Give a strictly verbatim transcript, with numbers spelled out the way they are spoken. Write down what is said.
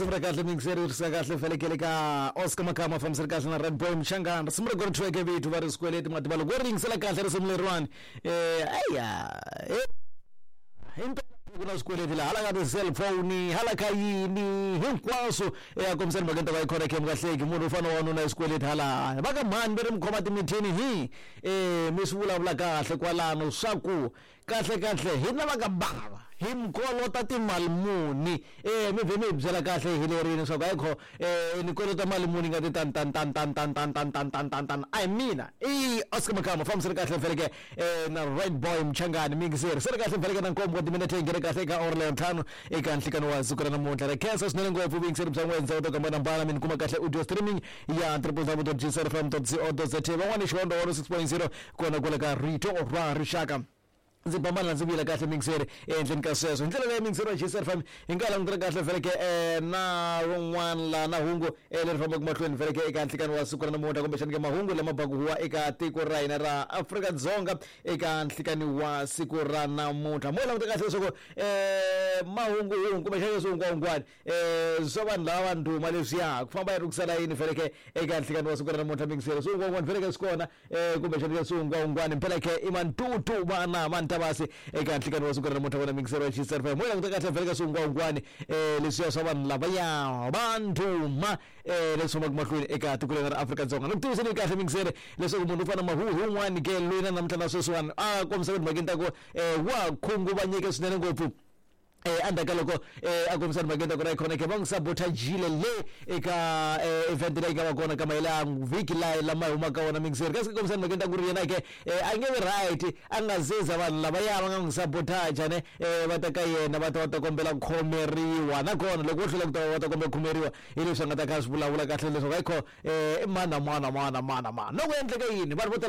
Sivura kahle mingiseri ri kahle felekele ka Oscar Makama fambisela kahle na Red Boy Mchangana risimu ra kona thweke vithu va ri swikweleti mativa loko ri yingisela kahle risimu leriwani eh aya himpela ku na swikweleti laha hala ka ti-cellphone hala ka yini hinkwaswo ya kombisani mhakeni ta va yi khona khem kahleki munhu u fanele wanuna swikweleti hala va ka mhani va ri mi khoma timithini hi um mi swi vulavula kahle kwalano swa ku kahle kahle hina va ka bava hi mi kolota timali muni um mi vhe mi hi byela kahle hi lerini leswaku ayikho um ni kolota mali muni nga ti tan tan tan tan tan tan tan tan tan tan tan a hi mina i Oscar Makama fambiseni kahle mfeleke um na Red Boy Mchangani mingiseri se ri kahle mfeleke na nkombo wa timinete yi nghene kahle eka awara leyo ntlhanu eka nhlikano wa siku ra namuntlha ri khensa swinene ngopfu vuyingiseri bya n'wina ndhawu to hambanahambana mi ni kuma kahle audio streaming ya triple w dot gcrfm dot co dot za van'wani xihondo one six point zero kona kwale ka rito ra rixaka ndzi bambana ndzi vuyela kahle mingiseri ehenhleni ka sweswo hi ndlela leyi mingiseri wa G C F M hi nga langutela kahle feleke um na rin'wana la na hungu eh, leri fambaka mahlweni feleke eka nhlikani wa siku ra namuntlha kumbexani ke mahungu lama baku huwa eka tiko ra hina ra Afrika-Dzonga eka nhlikani wa siku ra namuntlha mo languta kahle leswaku um mahungu hungu kumbexani leswi hungwahungwani um swa vanhu lava va ndhuma leswiya ku famba yi ri kusala yini feleke eka nhlikani wa siku ra namuntlha mingiseri swi hungwahungwani feleke swi kona um kumbexani ke swi hungwahungwani mpela ke i mantutu vana va ntavasi eka nhlikani wa siku ra namuntlha vona mingiseri wa G C F M mo languta kahle feleke swi hungwahungwani um leswiya swa vanhu lavaya va ndhuma um leswi fambaka mahlweni eka tiko leri ra Afrika-Dzonga ni ku tiviseni kahle mingiseri leswaku munhu u fana mahuhu wun'wani ke loyi na namuntlha na sweswiwani a kombisa ku timhakeni ta ku um wa khunguvanyeke swinene ngopfu eh endzhaku ka loko eh a kombisa timhakeni ta ku ra ikhona ke va n'wi sabotagile le eka eh, event leyi nga va kona ka mahela vhiki la lama hi humaka wona mingiseri kasi kombisa timhakeni ta ku ri yena ke eh, a nge vi right a nga zeza vanhu lavaya va nga n'wi sabotaja ne eh, va ta ka yena va ta va ta kombela ku khomeriwa nakona loko vo hlula ku ta va ta kombela ku khomeriwa hi leswi a nga ta kha a swi vulavula kahle leswaku ayikho eh, i mana mana mana mana mana loko endleke yini vanhu vo tala va